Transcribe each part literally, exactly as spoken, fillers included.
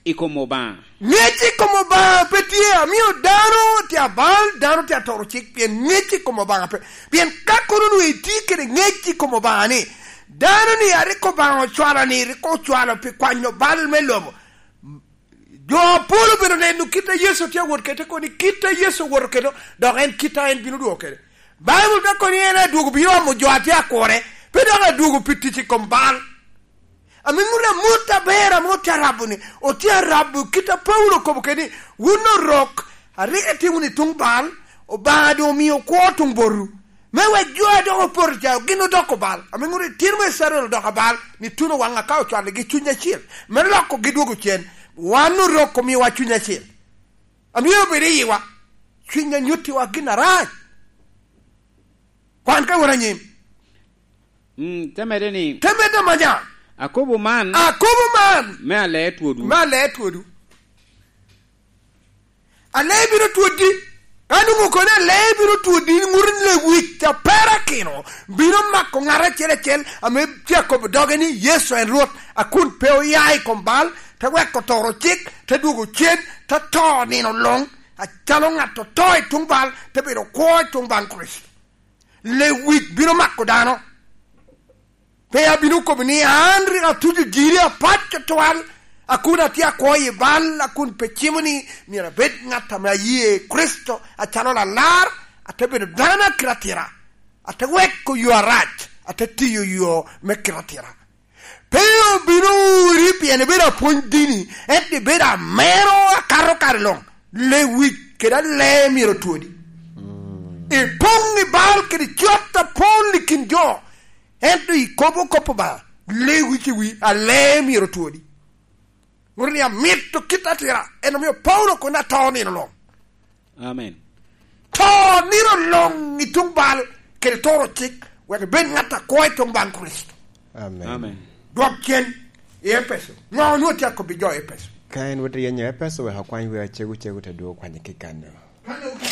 I kom Obaŋa. Ŋec i kom Obaŋa pe tye, amio dano tye abal, dano tye atoro cik, pien ŋec i kom Obaŋa pe. Pien ka kono onwoŋo itye kede ŋec i kom Obaŋa ni, dano ni a rik Obaŋa ocwalo ni, rik ocwalo pi kwanyo bal me lobo. Jo apol obedo neno kit a Yecu tye awot kede, kono kit a Yecu owoto kede, dok en kit a en bino dwogo kede. Baibul te kono ni en adwogo bino omo jo a tye akure, pe dok adwogo pi tic i kom bal. Ame ŋut amut aber ame otye arabo-ni, otye arabo kit a Paulo okobo kede ni, "Wun orok, a rik itye wunu i tuŋ bal, Obaŋa doŋ omio kwo tuŋ botwu, me wek jo a dok opoto ca gin odoko bal." Ame ŋut itino me Icrael odoko abal, ni tuno waŋ aka ocwaligi cuny acil, me lokogi dwogo cen. Wan orok omiowa cuny acil. Amio bedo i yiwa, cuny a nyuttiwa gin arac. Kwan ka wot anyim. Mm, te medde ni, te medde manya. Akobo man. Akobo man. Me alee twodwu. Me alee twodwu. Alee bino twoddi. Ka nwoŋo kono alee bino twoddi, ŋut lewic a perakino bino mako ŋat acel acel ame tye akobo doge ni Yecu en Rwot, a kun pe oya i kom bal, te weko toro cik, te dwogo cen, te to nino luŋ, acalo ŋat oto i tuŋ bal, te bedo kwo i tuŋ baŋ Kricito. Lewic bino mako dano. Pe abino kobo ni an rik atuco giri apac tutwal, a kun atye akwo i bal, a kun pe cimo ni myero abed ŋat ame aye Kricito acalo Lalar, ate bedo dano akite atira, ate weko yo arac, ate tiyo yo me kite atira. Pe obino uri pien ibedo apwony dini, ento ibedo amero akato kare luŋ. Lewic kede alee myero otwodi. Ipoŋ i bal kede cot apol i kin jo, ento ikobo kop Obaŋa, lewic i wi alee myero otwodi. Ŋut ni amito kit atira, en omio Paulo kono ato nino luŋ. Amen. To nino luŋ i tuŋ bal, kede toro cik, wek ibed ŋat akwo i tuŋ baŋ Kricito. Amen. Amen. Dwok cen i Epeco. Ŋo onwoŋo tye akobbi jo Epeco? Ka en wot i yenyo Epeco, wek okwany wer acegu cegu te dwogo kwanye ki kanno.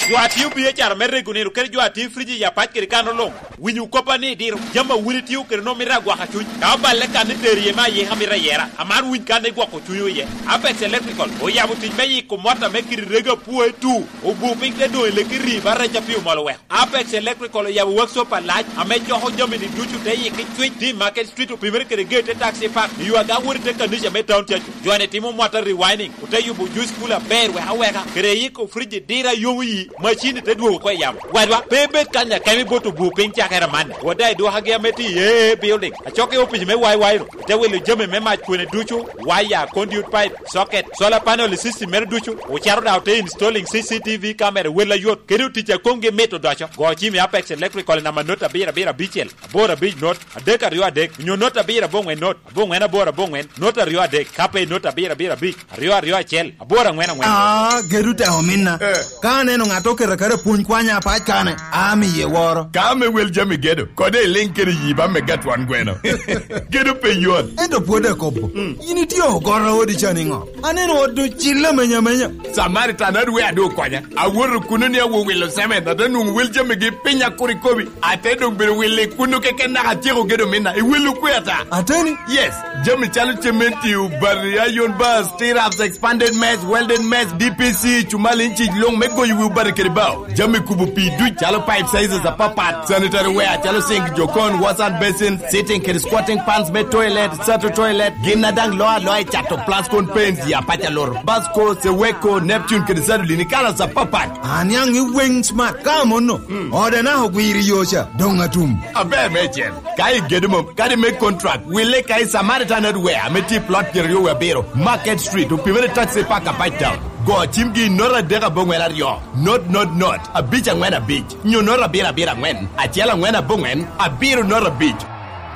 Jo a tio bie cara me rego nino, kede jo a tio friji i apac kede kanno luŋ, winyo koppa ni idiro. Jami a wun itio kede onwoŋo mito agwaka cuny. Ka oballe kan ni tero iye me ayika mito ayera, amaro winy kan ni gwoko cunywu iye. Apex Electrical oyabo tic me yiko mot ame kite rego apwoe tu, obu piny te doŋ i leki ri ba rec a pi omol oweko. Apex Electrical oyabo workshop alac ame coko jami-ni ducu te yikki cwic, tye i Market Street, opimere kede gate te taxi park, i yo aga wot i te kanica me Town Church. Jo-ni timo mwata rewinding, ote yubo juice cooler aber wek aweka, kede yiko friji diro a yomo yi, macin-ni te dwogo oko i yamo. Wadwa, pe ibed kany akemo ibot obu piny cakere amanni. Wot daŋ i dwokagi ame tye i A A Building, acok i opic me Y Y ru, ite wilo jami me mac kwene ducu, waya, conduit pipe, socket, solar panel i system mere ducu, ocito daŋ ote installing C C T V camera, wel ayot, kede otic a komgi mit odoco. Go cim i Apex Electrical i namba not abiro abiro abicel, aboro abic not, adek aryo adek, onyo not abiro aboŋwen not, aboŋwen aboro aboŋwen, not aryo adek, ka pe not abiro abiro abic, aryo aryo acel, aboro aŋwen aŋwen. Ah, gedo te ominna. Eh. Ka aneno ŋat oketo aketa pwony kwanya apac kane, amiye woro. Ka ame wel jami gedo, kode iliŋ kede yiba me gatwan gweno. Gedo pe yot. Ento pwod akobo. Mm. In itye ogoro odi ca niŋo? Aneno ot ocille amenya amenya. Samaritan adwe adu okonya. Awoto kuno ni awo wilo cement, ate nwoŋo wel jamigi piny akur ikobi. Ate doŋ bedo wille kuno keken naka atyeko gedo minna. Iwelo kwe ata? Ateni? Yes. Jami calo cementi, obati, iron bars, T-raps, expanded mess, welded mess, D P C, cumal inci luŋ me goyo wi obati kede bao. Jami kubo pii duc calo pipe sizes apapat, sanitary ware calo sink, jokon, wash and basin, sitting kede squatting pans me toilet, sato toilet, gin a daŋ loo aloa i cato plascon paints i apac alur, Basco, Seweko, Neptune kede Sadolin i kalas apapat. Aniaŋ i weng smart ka amono. Mm. Ode naka ogwiro i yo ca, doŋ atum. Aber meicel. Ka igedo mom, kadi me contract, wille ka i Samaritan Hardware ame tye i plot pyeraryo wie abiro, Market Street, opimere taxi park apac town. Go cimgi i not adek aboŋwen aryo, not, not, not, abic aŋwen abic, nyo not abiro abiro aŋwen, acel aŋwen aboŋwen, abiro not abic.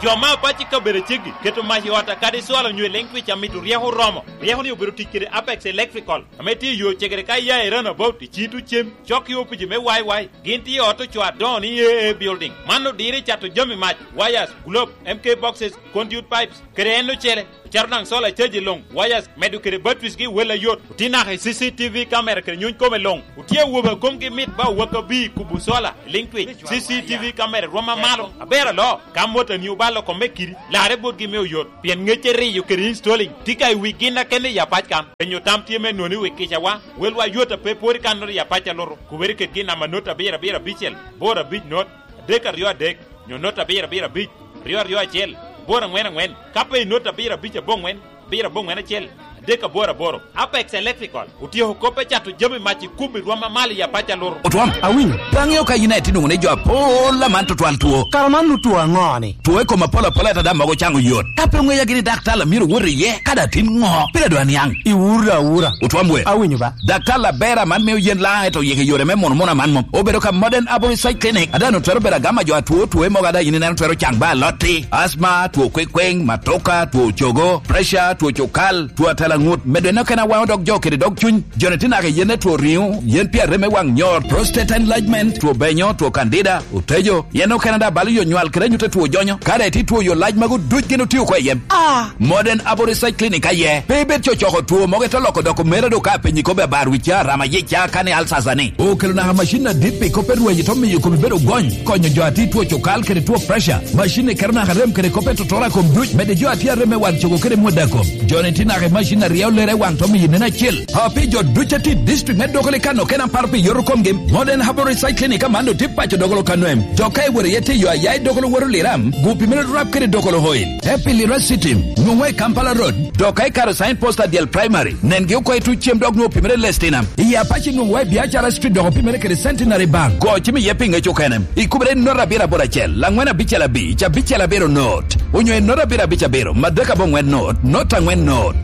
Jo ma apac i kabedo ceggi keto mac i ot akadi cwalo nyo i leŋ twic amito ryeko oromo. Ryeko-ni obedo tic kede Apex Electrical, ame tye i yo cegere ka iya i Roundabout i Cito Cem, cok i opici me Y Y. Gin tye i ot ocoo adoŋo ni A A Building. Man odiro i cato jami mac, wires, globe, M K boxes, conduit pipes, kede en ocele. Cero daŋ sola caji luŋ, wires, medo kede batteries gi wel ayot. Otye naka i C C T V camera kede nyuny kome luŋ. Otye awobe a komgi mit ba owak abir kubo sola, liŋ twic. C C T V camera rwom amalo, aber alo. Ka motoni obalo kome kidi, larre botgi me oyot. Pien ŋecce riyo kede installing tye ka i wi gin akene i apac kan. Penyo tam tye me nwoŋo i wi kicawa, welwa yot a pe pwod i kannoro i apac a luto. Kubere kede gin namba not abiro abiro abicel, boro abic not, adek aryo adek, nyo not abiro abiro abic, aryo aryo acel, boro aŋwen aŋwen, ka pe i not abiro abic aboŋwen, abiro aboŋwen acel, adek aboro aboro. Apex Electrical otyeko kop me cato jami mac i kubo i rwom amalo i apac a luto. Otwam, awinyo. Pe aŋeo ka yin aye tye nwoŋo ni jo apol aman tutwal two. Kara man otwo aŋo-ni? Two i kom apol apol ata daŋ mogo caŋo yot. Ka pe oŋeya gini daktar a myero owot iye, kadi atin ŋo, pire doŋ aniaŋ. Iwuro awura. Otwam we. Awinyo ba. Daktar Labera man mio yen Laŋa ento oyiko yore me muno muno aman mom. Obedo ka Modern Aboriginal Clinic, a daŋ otwero bedo agama jo atwo twoe mogo a daŋ yin ineno twero caŋ ba alotti, asma, two kwekweng, matoka, two cogo, pressure, two cukal, two atalaŋut, medo en okene awaŋo dog jo kede dog cuny. Joni tye naka i yen ne two riŋo, yen pi arem me waŋ nyor, prostate enlargement, two benyo, two candida, otejo, yen okene daŋ balo yo nywal kede anyut a two jonyo. Ka daŋ itye two yo lac magu duc gin otio oko i yem. Ah! Modern Aboriginal Clinic aye. Pe ibed cocoko two mogo ite loko doko mere do ka apenyi kobbi abar wicca, rama yicca, kani alsasa ni. Okelo naka macin adit pi kop me rwenyo te miyo kome bedo gony, konyo jo a tye two cukal kede two pressure. Macin-ni keto naka rem kede kop me totora kom duc, medde jo a tye arem me wan cogo kede mwada kom. Joni tye naka i macin a ryeo lere i waŋ to miyo nen acel. A pi jo duc a tye i district me Dogoli kan okene aparo pi yoto komgi, Modern Herbal Recycling Clinic aman otye paco Dogolo Kanwem. Dok ka iwoto iye tiyo aya i Dogolo woto Liram, gu pi mere rap kede Dogolo Oil. Te pi Lira City, nwoŋwa i Kampala Road. Dok ka ikaro sign post adyel Primary, nengi oko i tuc cem dok nwoŋo pi mere Lestina. I Apac nwoŋwa i Biacara Street dok pi mere kede Centenary Bank. Go cim iye pi ŋec okene. Ikubere i not abiro aboro acel, laŋwen abicel abic, abicel abiro not. Onyo i not abiro abic abiro, madek aboŋwen not, not aŋwen not.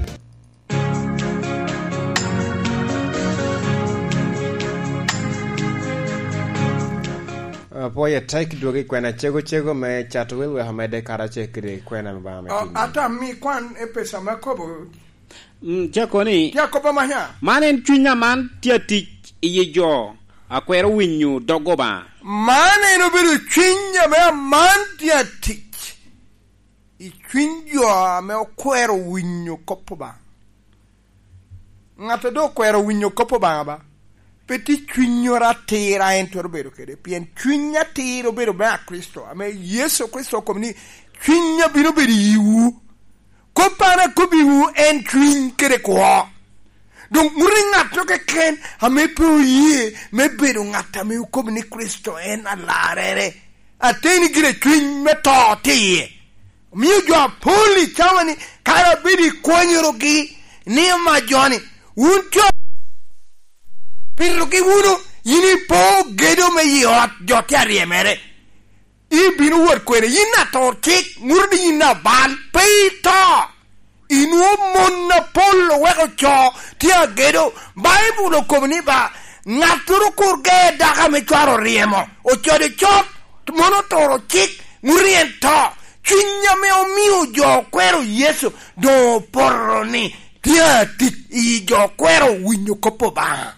Apwoyo atek dwogo i kwena cego cego me cato wel wek omedde karacel kede kwena me Obaŋa me O, tin. Ata mi kwan e pesa me kobo. Mm, cako ni, tye akobo manya. Man en cuny aman tye atic i yi jo a kwero winyo dog Obaŋa. Man en obedo cuny ame aman tye atic i cuny jo ame okwero winyo kop Obaŋa. Ŋat a doŋ okwero winyo kop Obaŋa ba, pe tye cunyoro atir a en twero bedo kede, pien cuny atir obedo me a Kricito, ame Yecu Kricito okobo ni, "Cuny a bino bedo i yiwu." Kop an akobbiwu en cuny kede kwo. Doŋ wun i ŋattoro keken ame pe oye me bedo ŋat ame okobo ni Kricito en alarrere, ateni gire cuny me to tye iye. Omio jo apol i cawa-ni kara abedo i kwanyorogi ni, "Ama joni, wun jo, pitogi wunu, yin ipo gedo me yi ot, jo tye aryemere. Ibino wot kwene, yin atur cik, ŋuto ni yin abal, pe ito." Inwoŋo mon apol oweko co tye agedo. Baibul okobo ni ba, "Ŋattoro kur ger dako ame cware oryemo, ocodo cot, mon oturo cik, ŋut en to." Cuny ame omio jo okwero Yecu doŋ opoto ni tye atic i jo okwero winyo kop Obaŋa.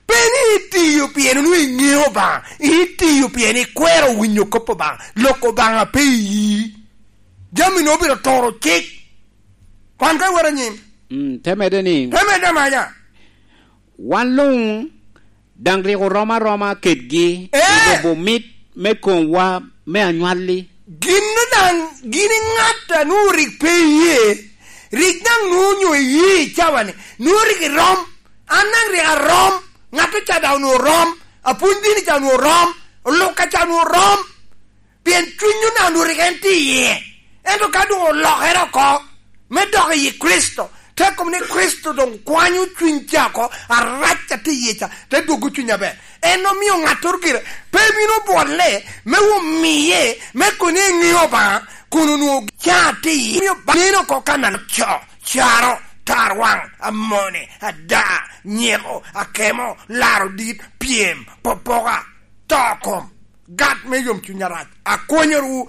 Pe ni itiyo pien onwoŋo iŋeo Obaŋa, itiyo pien ikwero winyo kop Obaŋa, lok Obaŋa pe iyi. Jami-nu obino turo cik. Kwan ka iwot anyim. Mm, te medde ni, te medde amanya. Wan luŋ daŋ rik oromo aroma kedgi, ee, i lubo mit me komwa me anywalli. Gin daŋ, gin i ŋat a nwoŋo rik pe iye, rik daŋ nwoŋo onyo iye i cawa-ni, nwoŋo rik irom. An daŋ rik arom, ŋat ca daŋ onwoŋo rom, apwony dini ca onwoŋo rom, olukka ca onwoŋo rom, pien cuny onwoŋo rik en tye iye. Ento ka doŋ olokere oko, me dok i Kricito, te kobo ni Kricito doŋ kwanyo cuny ca oko, arac a tye iye ca, te dwogo cuny aber. En omio ŋattoro gire pe bino bwolle, me omiye, me kono eŋeo Obaŋa, kun onwoŋo ca tye iye. Omio ba-, neno oko kan a co, caro, tarwaŋ, amone, ada, nyeko, akemo, laro dit, pyem, popoka, to kom, gat me yomcuny arac. Akonyowu,